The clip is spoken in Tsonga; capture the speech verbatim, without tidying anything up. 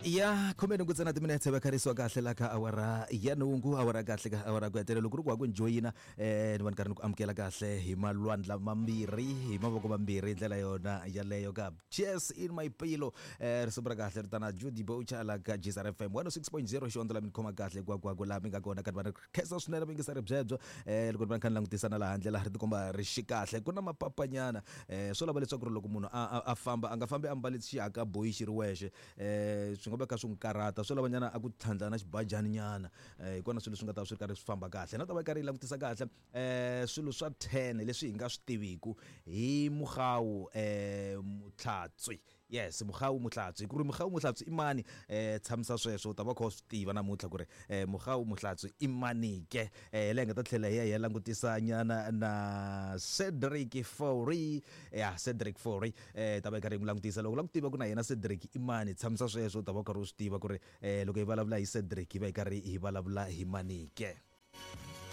Ya khume nhungu ntsena timinetse va kharisiwa kahle la ka awara ya nhungu, awara kahle ka awara ku hetelela. Loko ri ku wa ku ni joyina, um ni va ni karhi ni ku amukela kahle hi malwandla mambirhi, hi mavoko mambirhi, hi ndlela yona yaleyo ka Cheers in My Pillow. um risimu ra kahle ri tana Judy Boucher la ka G S R F M one oh six point zero, xihondzo la mi ni khoma kahle hinkwako laha mi nga kona. Kanti va ni khensa swinene vayingiseri byebyo. um loko ni va ni kha ni langutisa na laha handle laha ri tikomba ri xi kahle, ku na mapapanyana. um swo lava leswaku ri loko munhu a a famba a nga fambi a mbale xihaka boyi xi ri wexe, um swi nga va kha swi n'wi karhata, swo lava nyana a ku tlhandla na xibajani nyana. um hi kona swilo swi nga ta swi ri karhi swi famba kahle. Na ta va yi karhi yi langutisa kahle um swilo swa ten leswi hi nga swi tiviku hi Mogau um Mothlatswi. Yes, Mogau Mothlatswi, ku ri Mogau Mothlatswi i mani? um tshamisa sweswo, u ta va kha u swi tiva namuntlha ku ri um Mogau Mothlatswi i mani ke. um leyi nga ta tlhela hi ya hi ya langutisa nyana na Cedric Fourie. Ya Cedric Fourie, um ta va yi karhi yi n'wi langutisa. Loko u lava ku tiva ku na yena Cedric i mani, tshamisa sweswo, u ta va u karhi u swi tiva ku ri um loko hi vulavula hi Cedric hi va hi karhi hi vulavula hi mani ke.